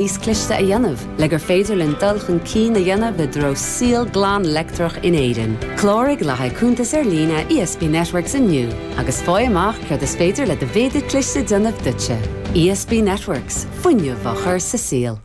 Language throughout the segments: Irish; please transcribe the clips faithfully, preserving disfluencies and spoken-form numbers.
Níos cliste a dhéanamh le gur féidir linn dul chun cinn a dhéanamh i dtreo saol glan leictreach in Éirinn. Cláraigh le haghaidh cuntas ar líne ESB Networks inniu agus faigh amach céard is féidir le do mhéadar cliste déanamh duitse. ESB Networks fuinneamh á chur sa saol.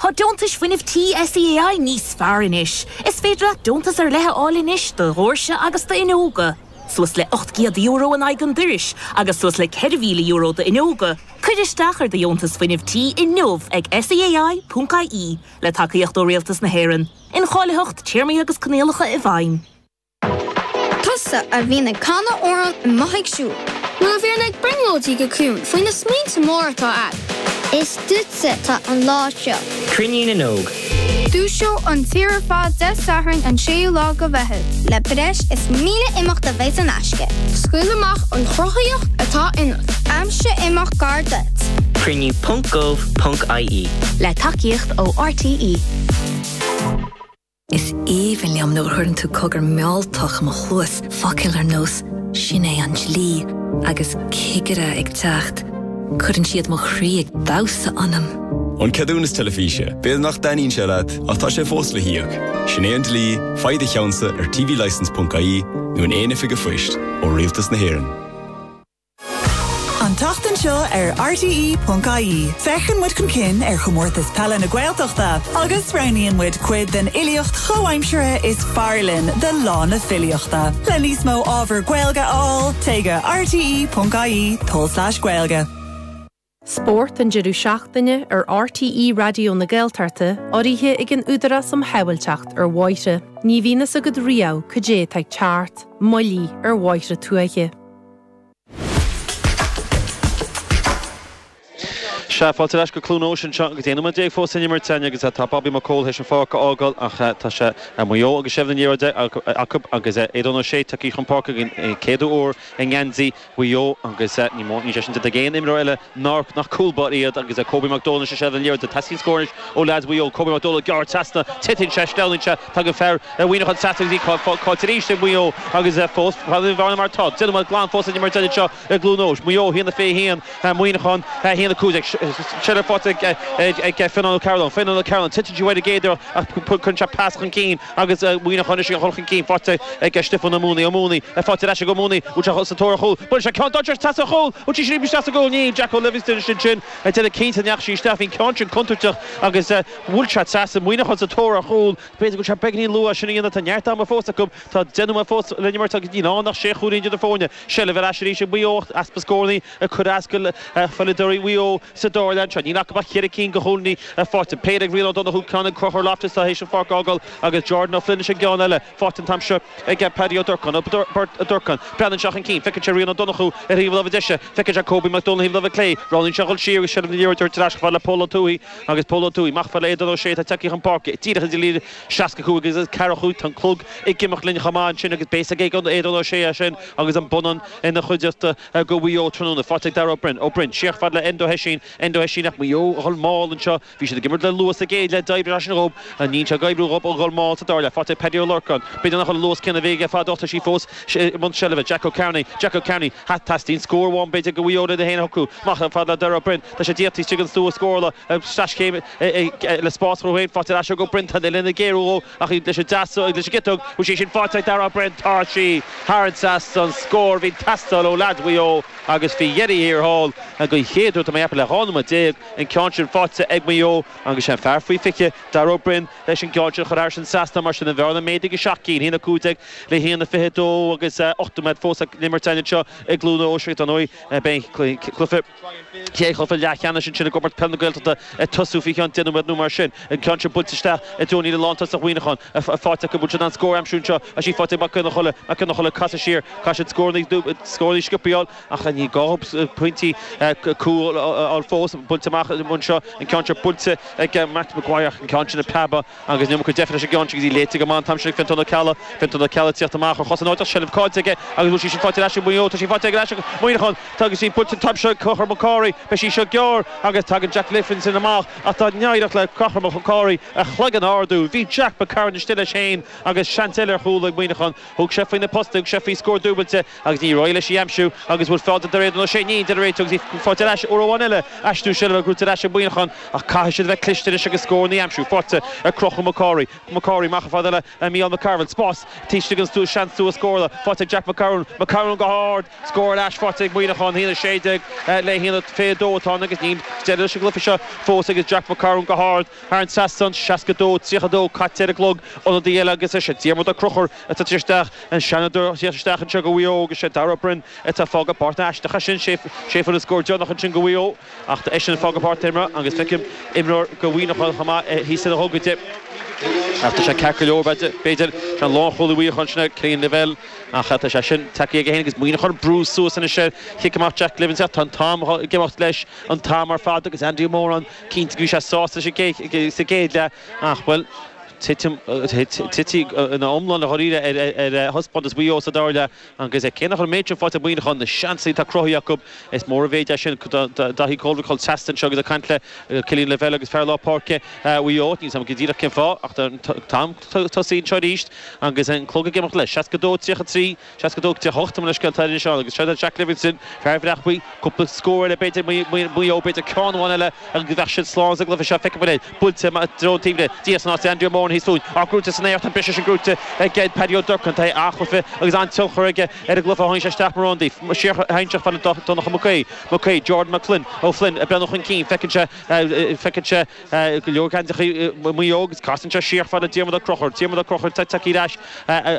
Tá deontais fuinnimh tí SEAI níos fearr anois. Is féidir leat deontas ar leith a fháil anois do dhoirse agus d'fhuinneoga. Suas le ocht gcéad euro in aghaidh an dorais agus suas le ceithre mhíle euro d'fhuinneoga. Cuir isteach ar do dheontas fuinnimh tí inniu ag SEAI.ie le tacaíocht ó Rialtas na hÉireann. Incháilitheacht téarmaí agus coinníollacha i bhfeidhm. Tusa a bhíonn ag canadh amhrán amuigh ag siúl. Nó a bhíonn ag brionglóidí go ciúin faoi na smaointe móra atá agat. Is duitse atá an lá seo. Cruinniú na nÓg. Dúiseoidh an tír ar fad Dé Sathairn an séú lá de Mheitheamh. Le breis is míle imeacht a bheidh in aisce. Scaoil amach an chruthaíocht atá ionat. Aimsigh imeacht gar duit. Cruinniú.gov.ie Le tacaíocht ó RTÉ. Is aoibhinn liom nuair a chuireann tú cogar mealltach i mo chluas focail ar nós sin é an dlí agus cigire ag teacht. Cuireann siad mo chroí ag damhsa ionam. An ceadúnas teilifíse, B'fhéidir nach dtaitníonn sé leat ach tá sé fós le híoc. Sin é an dlí, faigh do cheannsa ar tvlicence.ie nó in aon oifig phoist ó Rialtas na hÉireann. An tseachtain seo ar RTÉ.ie. Féachann muid chun cinn ar chomórtas peile na Gaeltachta agus roghnaíonn muid cuid den fhilíocht chomhaimseartha is fearr linn do lá na filíochta. Le níos mó ábhar Gaeilge a fháil, téigh go RTÉ.ie tulslais Gaeilge. Spórt an deireadh seachtaine ar RTÉ Raidió na Gaeltachta urraithe ag an Údarás um Shábháilteacht ar Bhóithre. Ní bhíonn a fhios agat riamh cad é atá ag teacht, moilligh ar bhóithre tuaithe. Sea, fáilte ar ais go Cluain Eois anseo agus aon nóiméad déag fós in imirt againn agus tá Bobby McCole théis an pháirc a fhágáil ach tá sé Maigh Eo agus seilbh na liathróide acu agus Aodán Ó Sé tagtha chun páirce den chéad uair i ngeansaí Mhaigh Eo agus ní mór níl sé sin déanta ag aon imreoir eile nár nach cúl báire iad agus Kobe McDonald is seilbh na liathróide. Teastaíonn scór anois ó leaids Mhaigh Eo. Kobe McDonald gearr trasna, titeann sé, sleamhnaíonn sé, tagann fear Mhuineacháin trasna agus í caillte arís ag Maigh Eo agus fós fad mar atá. Deich nóiméad glan fós in imirt anseo i gCluain Eois. Maigh Eo a haon a fiche haon, Muineachán a haon a cúig déag. Seilbh faighte ag Fionán Ó Cearúlláin. Fionán Ó Cearúlláin, titeann sí uaidh an gcéad uair ach cuireann sé pas chun cinn agus Muineachán anois ag dul chun cinn faighte ag Stiofán Ó Mónaí. Ó Mónaí faighte ar ais ag Ó Mónaí. Bhfuil sé sa tóir ar chúl. Buaileann sé ceann dainséarach trasna ar chúl. Bhfuil sí sin isteach sa gcúl? Níl. Jacko Livingston ansin sin ag déanamh cinnte ndeachaigh sí isteach. Bhí an ceann sin contúirteach agus bhuail sé trasna. Muineachán sa tóir ar chúl. B'fhéidir go bhfuil sé beagáinín luath sin a dhéanamh. Tá neart ama fós acu. Tá deich nóiméad fós le imirt agus níl ann ach sé chúilín idir na foirne. Seilbh ar ais arís ag Maigh Eo ach easpa scóranna ag cur as do pheileadóirí Mhaigh Eo sa dara leath anseo. Níl acu ach ceithre cinn de chúilíní faighte. Péire ag Rian Ó Donnchú, ceann ag Conchúr Loftus atá théis an pháirc a fhágáil agus Jordan Ó Floinn leis an gceann eile. Faighte an t-am seo ag Paddy Ó Durcáin. Ó Durcáin. Breathnaíonn sé chun cinn. Feiceann sé Rian Ó Donnchú ar thaobh na láimhe deise. Feiceann sé Kobe McDonald ar thaobh na láimhe clé. Roghnaíonn sé a dhul siar agus seilbh na liathróide ar ais chomh fada le Pól Ó Tuathaigh agus Pól Ó Tuathaigh amach fad le Aodán Ó Sé atá tagtha chun páirce. Díreach idir líne seasca cúig agus ceathracha cúig. Tá an clog ag imeacht linn chomh maith ansin agus beidh a fhios ag Aodán Ó Sé é sin agus an bonnán ina chuideachta do Mhaigh Eo tráthnóna. Faighte ag Darragh Ó Broin. Ó Broin siar fad le Enda Ó hOisín. Enda Ó hOisín ach Maigh Eo a dhul mall anseo. Bhí siad ag imirt le luas sa gcéad leath. D'oibrigh sé sin dhóibh. Níl sé ag oibriú dhóibh a dhul mall sa dara leath. Faighte ag Paddy Ó Lorcáin. B'fhéidir nach bhfuil an luas céanna a bhí aige fadó ach tá sí fós i mbun seilbhe. Jack Ó Cearnaigh. Jack Ó Cearnaigh. Teastaíonn scór amháin b'fhéidir do Mhaigh Eo lena haon a shocrú. Amach fad le Darragh Ó Broin. Tá sé díreach taobh istigh den stua scórála. Sleaschéim le spás dhó féin. Faighte ar ais ag Ó Broin. Tá an uillinn ag géarú dhó ach leis an deas leis an gciotóg. Bhfuil sí sin faighte ag Darragh Ó Broin. Tá sí thar an trasnán. Scór a bhí ag teastáil ó leaids Mhaigh Eo agus faoi dheireadh thiar thall den chéad uair tá mé ag ceapadh le dhá nóiméad déag an ceann sin faighte ag Maigh Eo agus sé an fear faoi fiche, Darragh Ó Broin, leis an gceann sin a chur thar an trasnán. Mar sin an bhearna méadaithe go seacht gcinn, a haon a cúig déag le haon a fiche dó agus ocht nóiméad fós le imirt againn anseo i gCluain Eois agus dar ndóigh beidh an cluiche chéad chluiche leathcheannais ansin i gComórtas Peile na Gaeltachta ag tosú faoi cheann deich nóiméad nó mar sin. An ceann sin buailte isteach i dtreo líne lántosach Mhuineacháin faighte acu. Bhfuil siad in ann scór a aimsiú anseo? Tá sí faighte ag Mac Fhionnghaile. Mac Fhionnghaile ag casadh siar. Caithfidh siad scóranna sciobtha a fháil ach ní gá dhóibh pointí cúil a fháil fós. Buailte amach anseo, an ceann seo buailte ag Matt Maguire ach an ceann sin ag preabadh agus an iomarca deifre leis an gceann sin agus í léite go maith an t-am sin ag Fionntán Ó Ceallaigh. Fionntán Ó Ceallaigh ag tíocht amach ar chos in áit ach seilbh caillte aige agus bhfuil sí sin faighte ar ais ag Maigh Eo. Tá sí faighte ar ais ag Muineachán. Agus í buailte an t-am seo ag Conchúr Mac Cárthaigh. Beidh sí seo gearr agus tagann Jack Livingston amach ach dá n-éireodh le Conchúr Mac Cárthaigh a chloigeann a ardú. Bhí Jack McCarron istigh leis féin agus seans eile ar chúl ag Muineachán. Thug sé faoi na postaí, thug sé faoi scór dúbailte agus níor éirigh leis í aimsiú agus bhfuil faighte ag Aidan Ó Sé ní de réiteach agus í faighte ar ais uair amháin eile aistriú seilbhe gnóthaithe ar ais ag Muineachán ach caithfidh siad a bheith cliste anois agus scóranna a aimsiú faighte ag Conchúr Mac Cárthaigh Mac Cárthaigh amach fada le Mícheál McCarville spás taobh istigh den stua seans stua scórála faighte ag Jack McCarron McCarron go hard scór ar ais faighte ag Muineachán haon a sé déag le haon a fiche dó atá ann agus níl deireadh leis an gcluiche seo fós agus Jack McCarron go hard thar an trasnán seasca dó tríocha dó caite ar an gclog ionadaí eile agus is é Diarmuid Ó Conchúir atá tar isteach an seanadóir isteach anseo go Mhaigh Eo agus sé Dara Broin atá fágtha páirc na aisteach sin sé sé an scór deireanach ansin go Mhaigh Eo ach eisean fágtha páirc na himeartha agus feicim imreoir go Mhuineachán chomh maith thíos ar a ghogaide. Ach tá sé ceart go leor b'fhéidir sé an lánchúlaí Mhuineacháin sin Cillian Lavelle ach tá sé sin tagtha aige féin agus Muineachán brú suas anois ar chic amach Jack Livingston tá an t-am ag imeacht leis an t-am ar fad agus Andy Moran cinnte go bhí sé sásta sa gcéad leath ach bhuel titim ina iomlán a dháiríre ar thaispeántas Mhaigh Eo sa dara leath agus cé nach an méid sin faighte Muineachán na seansanna atá cruthaithe acu is mór an mhéid é sin Daithí Goldrick chun seasta anseo agus ag caint le Cillian Lavelle agus fear lár páirce Mhaigh Eo níl a fhios agam go díreach cén fáth ach an t-am tosaí anseo arís agus an clog ag imeacht leis seasca dó tríocha trí seasca dó tríocha hocht leis scéal anseo agus seo Jack Livingston fear Bhreac Buí cúpla scór eile b'fhéidir Maigh Eo b'fhéidir ceann amháin eile agus bheadh siad slán sa gcluiche seo feicim é buailte dtreo taobh Dia san áit Andrew Moran thíos fúinn á gnóthaithe san aer an briseadh sin gnóthaithe ag Paddy Ó Durcáin tá an-chluiche agus an-tionchar aige ar an gcluiche tháinig sé isteach mar ionadaí siar fan Donncha McQuaid McQuaid Jordan McFlynn Ó Flynn ag breathnú chun cinn feiceann sé feiceann sé go leor geansaithe Mhaigh Eo agus casann sé siar fada Diarmuid Ó Conchúir Diarmuid Ó Conchúir tagtha ar ais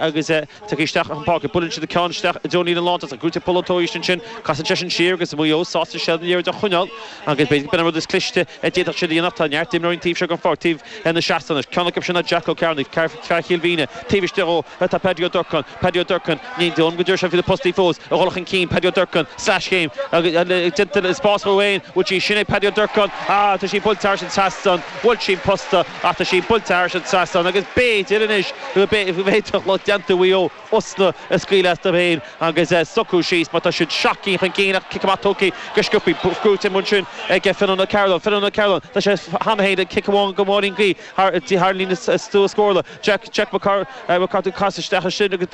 agus tagtha isteach an pháirc buaileann siad ceann isteach i dtreo líne lántosach gnóthaithe Pól Ó Tuairisg ansin casann sé sin siar agus Maigh Eo sásta seilbh na liathróide a choinneáil agus b'fhéidir b'in an rud is cliste a d'fhéadfadh siad a dhéanamh tá neart imreoirí taobh seo den pháirc taobh na seastáin ceann acu sin Jack Ó Cearnaigh fear Chill Mhíne taobh istigh ó tá Paddy Ó Durcáin Paddy Ó Durcáin ní dóigh go dúirt sé faoi na postaí fós a dhul chun cinn Paddy Ó Durcáin sleaschéim agus déanta spás dhó féin bhfuil sí sin é Paddy Ó Durcáin ah tá sí buailte thar an trasnán bhfuil sí posta ach tá sí buailte thar an trasnán agus b'fhéidir anois go b'fhéidir lucht déanta Mhaigh Eo osna a scaoileadh astu féin agus socrú síos má tá siad seacht gcinn chun cinn ach cic amach tógtha go sciobtha gnóthaithe ansin ag Fionn Ó Cearúil Fionn Ó Cearúil tá sé cheana féin ag cic amháin go Máirín Gaoith thar líne stua scórála Jack Jack McCarthy cas isteach sin agus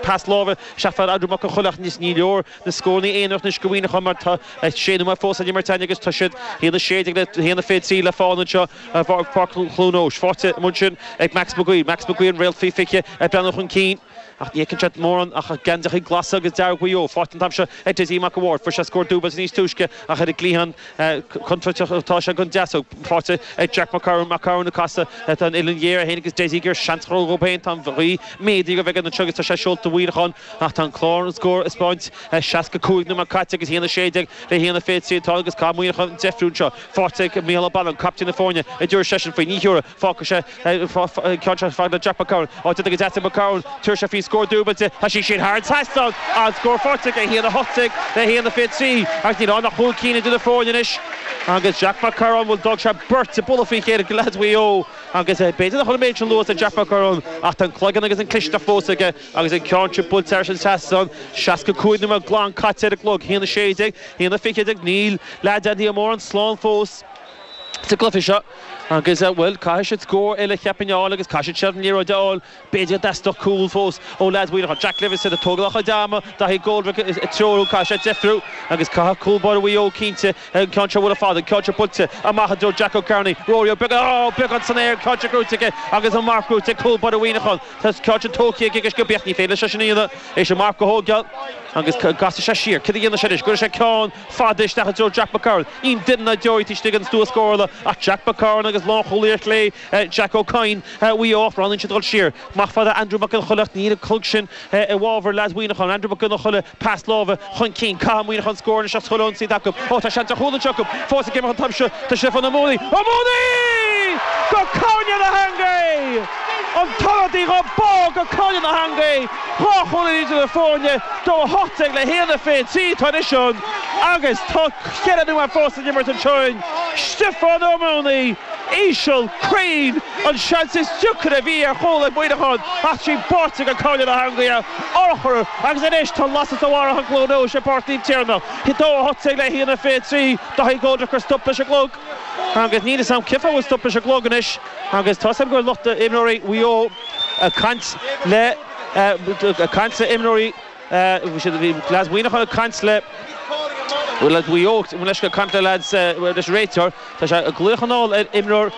pas láimhe isteach fad Andrew Mac Con Choileach níos ní leor na scóranna aonarach anois go Mhuineachán mar tá sé nóiméad fós ag imirt agus tá siad haon a sé déag le haon a fiche trí le fáil anseo Páirc Chluain Eois faighte ansin ag Max McGuire Max McGuire an réalt faoi fiche ag breathnú chun cinn ach ní fheiceann siad mórán ach geansaithe glasa agus dearg Mhaigh Eo faighte an t-am seo ag Dessie Mac a' Bhaird fuair sé scór dúbailte níos túisce ach ar an gcliathán contúirteach atá sé don deasóg faighte ag Jack McCarron McCarron ag casadh tá an uillinn ghéar féin agus Dessie gur seans dhó féin tá an ghaoth méadaithe go bheith anseo agus tá sé seolta Mhuineachán ach tá an clár an scór ag spáint seasca cúig nóiméad caite agus haon a sé déag le haon a fiche trí atá agus caithfidh Muineachán deifriú anseo faighte ag Mícheál Ó Balláin captaen na foirne a dúirt seisean faoi ní thiúrfaidh fágfaidh sé ceann seo fad le Jack McCarron á déanta go deas ag McCarron tabharfaidh sé faoi scór dúbailte tá sí sin thar an trasnán an scór faighte ag haon a hocht déag le haon a fiche trí agus níl ann ach cúig cinn idir na foirne anois agus Jack McCarron bhfuil d'fhág sé beirt ag bualadh faoi chéile go leaid Mhaigh Eo agus b'fhéidir nach bhfuil an méid sin luas ag Jack McCarron ach tá an cloigeann agus an clisteacht fós aige agus an ceann sin buailte thar an trasnán seasca cúig nóiméad glan caite ar an gclog haon a sé déag haon a fiche déag níl leaid Andy Moran slán fós sa gcluiche seo agus bhuel caithfidh siad scór eile cheapfainn a fháil agus caithfidh siad seilbh na liathróide a fháil b'fhéidir go dteastódh cúl fós ó leaid Mhuineacháin Jack Livingston ag tógáil a chuid ama Daithí Goldrick ag treorú caithfidh sé deifriú agus caithfidh cúl báire Mhaigh Eo cinnte an ceann seo bhfuil fada an ceann seo buailte amach i dtreo Jack Ó Cearnaigh Rory Ó beagán ó beagán san aer ceann seo gnóthaithe aige agus an marc gnóthaithe ag cúl báire Mhuineacháin tá ceann sin tógtha aige agus go beacht ní féidir leis sin a dhéanamh é sin marc a thógáil agus casfaidh sé siar cad a dhéanfaidh sé anois cuirfidh sé ceann fada isteach i dtreo Jack McCarron níl duine ná deoraí taobh istigh den stua scórála ach Jack McCarron agus lánchúlaí ar chlé Jack O'Kine Mhaigh Eo roghnaíonn siad dul siar amach fada Andrew Mac Con Choileach níl an clog sin i bhfabhar leaid Mhuineacháin Andrew Mac Con Choileach pas láimhe chun cinn caithfidh Muineachán scór anois as chuile ionsaí acu ó tá seans ar chúl anseo acu fós ag imeacht an t-am seo tá Stiofán Ó Mónaí Ó Mónaí go cúinne na heangaí an t-ionadaí dhá bá go cúinne na heangaí dhá chúl idir na foirne dó a hocht déag le haon a fiche trí tá anois ann agus tá ceithre nóiméad fós san imirt anseo Stiofán Ó Mónaí íseal cruinn an seans is deacra a bhí ar chúl ag Muineachán ach sí báite go cúinne na heangaí urchar agus anois tá lasadh sa bharrach i gCluain Eois i bPáirc Naomh Tiarnach dó a hocht déag le haon a fiche trí Daithí Goldrick gur stop leis an gclog agus níl a fhios agam cén fáth bhfuil stop leis an gclog anois agus tá gur lucht imreoirí Mhaigh Eo ag caint le ag caint le imreoirí Bhí lads Mhuineacháin ag caint le Well Mhaigh Eo leis go caint le lads leis réiteoir Tá sé ag glaoch anall ar imreoir